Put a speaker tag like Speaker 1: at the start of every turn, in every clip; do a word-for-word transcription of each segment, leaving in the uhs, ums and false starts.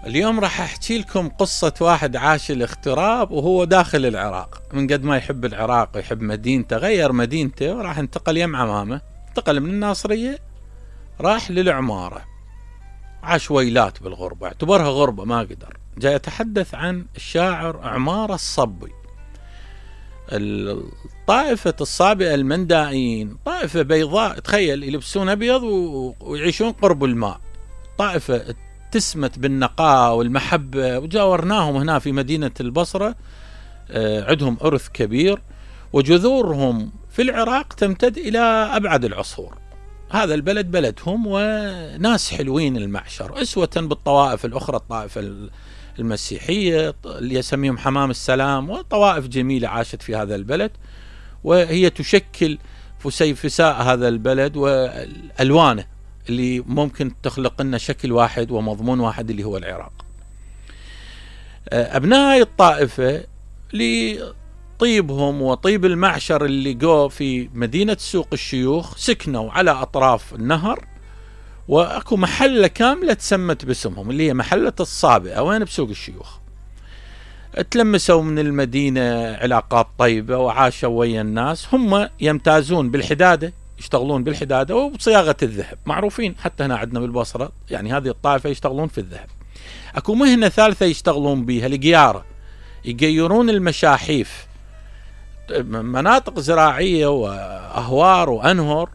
Speaker 1: اليوم راح احكي لكم قصة واحد عاش الاغتراب وهو داخل العراق. من قد ما يحب العراق ويحب مدينته غير مدينته وراح انتقل يم عمامه. انتقل من الناصرية راح للعمارة، عاش ويلات بالغربة، اعتبرها غربة ما قدر. جاي يتحدث عن الشاعر عمارة الصبي. الطائفة الصابئة المندائيين طائفة بيضاء، تخيل يلبسون أبيض ويعيشون قرب الماء، طائفة تسمت بالنقاء والمحبة. وجاورناهم هنا في مدينة البصرة، عندهم إرث كبير وجذورهم في العراق تمتد إلى أبعد العصور. هذا البلد بلدهم وناس حلوين المعشر، أسوة بالطوائف الأخرى، الطائفة المسيحية اللي يسميهم حمام السلام، وطوائف جميلة عاشت في هذا البلد، وهي تشكل فسيفساء هذا البلد والألوانه اللي ممكن تخلق لنا شكل واحد ومضمون واحد اللي هو العراق. أبناء الطائفة لطيبهم وطيب المعشر اللي جو في مدينة سوق الشيوخ سكنوا على أطراف النهر، وأكو محلة كاملة تسمت باسمهم اللي هي محلة الصابئة، وين بسوق الشيوخ. تلمسوا من المدينة علاقات طيبة وعاشوا ويا الناس. هم يمتازون بالحدادة، يشتغلون بالحدادة وبصياغة الذهب، معروفين حتى هنا عندنا بالبصرة، يعني هذه الطائفة يشتغلون في الذهب. أكو مهنة ثالثة يشتغلون بها، القيارة، يقيرون المشاحيف، مناطق زراعية وأهوار وأنهر.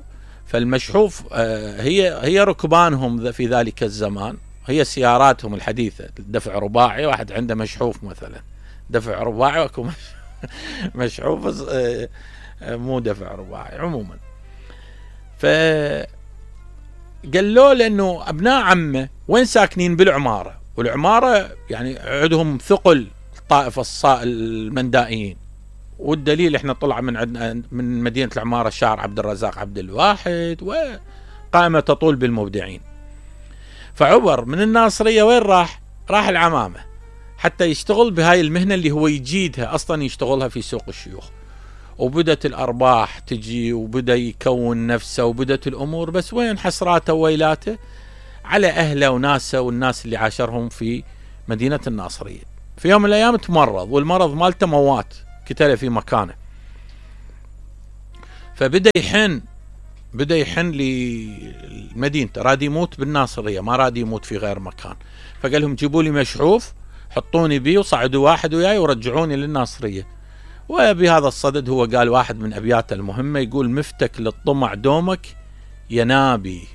Speaker 1: فالمشحوف هي هي ركبانهم في ذلك الزمان، هي سياراتهم الحديثة، دفع رباعي. واحد عنده مشحوف مثلا دفع رباعي، وأكو مشحوف مو دفع رباعي عموما. فقال له لأنه أبناء عمه وين ساكنين بالعمارة، والعمارة يعني عندهم ثقل الطائفة المندائيين، والدليل احنا طلع من عندنا من مدينة العمارة الشاعر عبد الرزاق عبد الواحد، وقائمة تطول بالمبدعين. فعبر من الناصرية وين راح؟ راح العمامة حتى يشتغل بهاي المهنة اللي هو يجيدها أصلا، يشتغلها في سوق الشيوخ. وبدت الأرباح تجي، وبدأ يكون نفسه، وبدت الأمور، بس وين حسراته وويلاته على أهله وناسه والناس اللي عاشرهم في مدينة الناصرية. في يوم من الأيام تمرض، والمرض مالته موات، كتله في مكانه. فبدأ يحن بدأ يحن لمدينته، راد يموت بالناصرية، ما راد يموت في غير مكان. فقال لهم جيبوا لي مشحوف، حطوني بيه، وصعدوا واحد وياي ورجعوني للناصرية. وبهذا الصدد هو قال واحد من أبياته المهمة، يقول: مفتك للطمع دومك يا نابي،